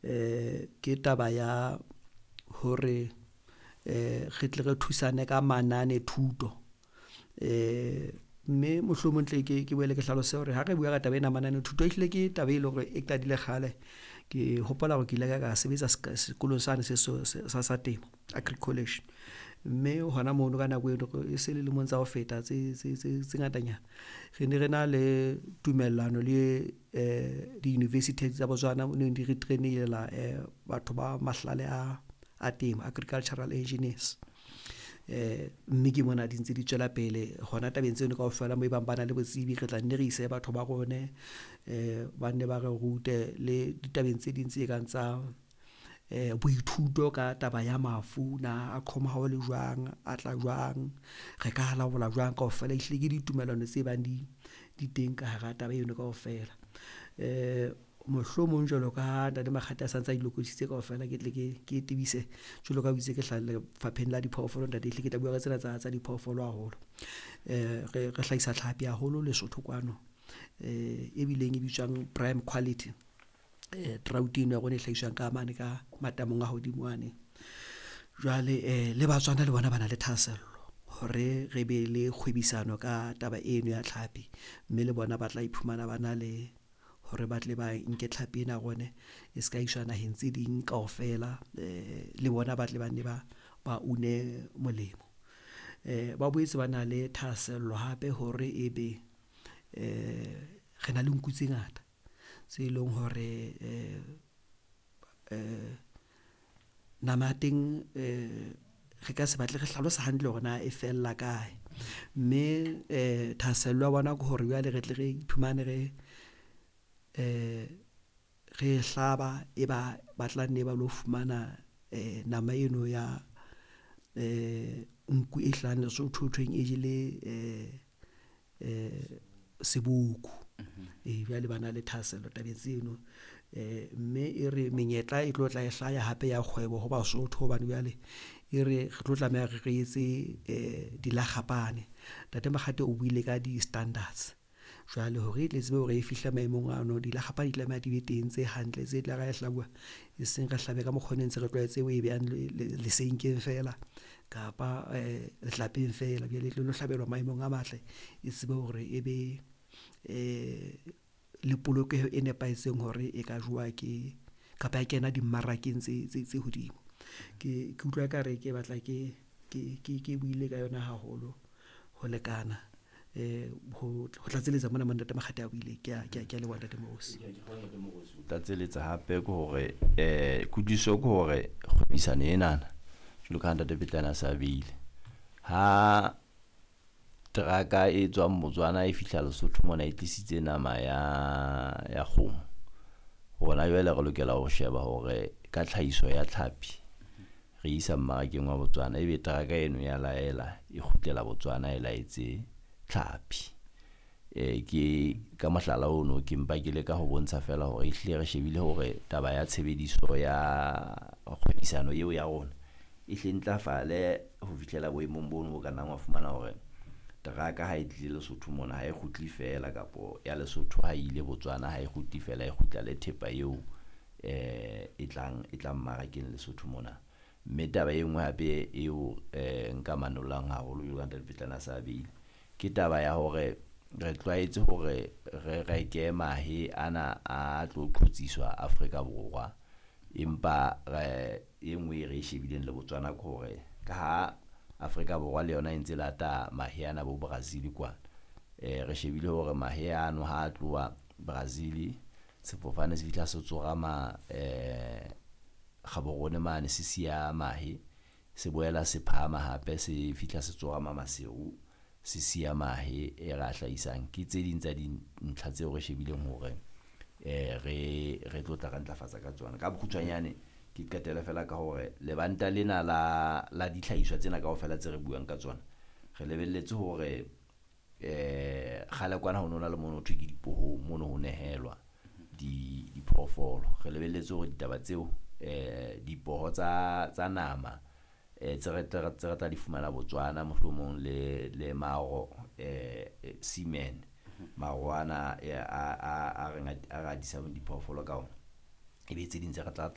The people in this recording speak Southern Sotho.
Ke taba ya hore re tle re thusane ka manane thuto. Mme mohlomong tle ke boele ke hlalose hore ha re bua ka taba ena ya manane thuto, ehlile ke taba e leng hore e qadile kgale. Ke hopola hore ke ile ka sebetsa sekolong sane se sa temo, Agri College. Mme hona mono ka nako eno e se le lemong tsa ho feta tse ngatanyana. Re ne re na le tumellano le di-university tsa Botswana neng di re train-ela batho ba mahlale a temo, agricultural engineers. Mme ke mona di ntse di tswela pele hona tabeng tseno kaofela moo ebang bana le botsebi, re tla nne re ise batho ba rone ba nne ba re rute le ditabeng tse ding tse kang tsa boithuto ka taba ya mafu na a qhoma ha o le jwang, a tla jwang, re ka laola jwang kaofela. Ehlile ke ditumellano tse bang di teng ka hara taba eno kaofela. Mohlomong jwalo ka ha ntate Makgate a sa ntse a di lokisitse kaofela, ke tle ke tebise jwalo ka ha o itse ke hlaha Lefapheng la Diphoofolo ntate, ehlile ke tla bua ka tsena tsa diphoofolo haholo. Re hlahisa tlhapi haholo Lesotho kwano e bileng e bitswang prime quality, trout eno ya rona e hlahiswang ka mane ka matamong a hodimo wane. Jwale le Batswana le bona bana le thahasello hore re be le kgwebisano ka taba eno ya tlhapi, mme le bona ba tla iphumana bana le hore ba tle ba nke tlhapi ena ya rone e ska iswa naheng tse ding kaofela, le bona ba tle ba nne ba une molemo. Ba boetse bana le thahasello hape hore ebe re na le nku tse ngata tse leng hore nama ya teng re ka se batle re hlalosa hantle hore na e fella kae. Mme thahasello ya bona ke hore jwale re tle re iphumane re re hlaba e ba ba tla nne ba lo fumana nama eno ya nku e hlahang Lesotho hothweng e jele seboko. Ee, jwale bana le thahasello tabeng tseno. Mme e re menyetla e tlo tla e hlaya hape ya kgwebo ho Basotho hobane jwale e re re tlo tlameha re etse dilakgapane. Ntate Makgate o buile ka di-standards, jwale hore e tle tsebe hore e fihle maemong ano, dilakgapa di tlameha di be teng tse hantle, tse tlare ha e hlabuwa eseng re hlabe ka mokgo ne ntse re tlwaetse ho e behang lesenkeng feela kapa letlapeng feela. Jwale e tlo hlabelwa maemong a matle, e tsebe hore e be le polokeho e nepahetseng hore e ka jowa ke, kapa ya kena dimmarakeng tse hodimo. Ke utlwa ekare ke batla ke buile ka yona haholo ho lekana ho tlatselletsa mona mo ntate Makgate a buileng. Ke a leboha Ntate Moruosi. Tlatselletsa hape ke hore kutlwisiso ke hore kgwebisano enana jwalo ka ha ntate Pitlane a sa beile, ha teraka e tswang Botswana e fihla Lesotho mona e tlisitse nama ya kgomo, rona jwale re lokela ho sheba hore ka tlhahiso ya tlhapi re isa mmarakeng wa Botswana, ebe teraka eno ya laela e kgutlela Botswana e laetse tlhapi. Ke ka mohlala ono ke mpa ke leka ho bontsha fela hore ehlile re shebile hore taba ya tshebediso ya kgwebisano eo ya rona e hle ntlafale ho fihlela boemong bono bo ka nnang wa fumana hore teraka ha e tlile Lesotho mona ha e kgutle fela, kapo ya Lesotho ha ile Botswana ha e kgutle fela, e kgutla le thepa eo e tlang mmarakeng Lesotho mona. Mme taba e nngwe hape eo nka manollang haholo jwalo ka ntate Pitlane a sa beile, ke taba ya hore re tlwaetse hore re reke mahe ana a tlo qhotsiswa Afrika Borwa, empa re e nngwe e re e shebileng le Botswana ke hore ka ha Afrika Borwa le yona e ntse lata mahe ana bo Brazil kwana, re shebile hore mahe ano ha a tloha Brazil sefofane se fihla se tsorama Gaborone mane se siya mahe, se boela se phahama hape se fihla se tsorama Maseru se siya mahe e re a hlahisang. Ke tse ding tsa dintlha tseo re shebileng hore re tlo tla re ntlafatsa ka tsona. Ka bokgutshwanyane ke qetele fela ka hore lebanta lena la dihlahiswa tsena kaofela tse re buang ka tsona, re lebelletse hore kgale kwana ho nona le mono ho thwe ke dipohong, mono ho nehelwa diphoofolo. Re lebelletse hore ditaba tseo dipoho tsa nama tse re tla di fumana Botswana mohlomong le maro semen, maro ana a re atisang diphoofolo ka ona, ebe tse ding tse re tla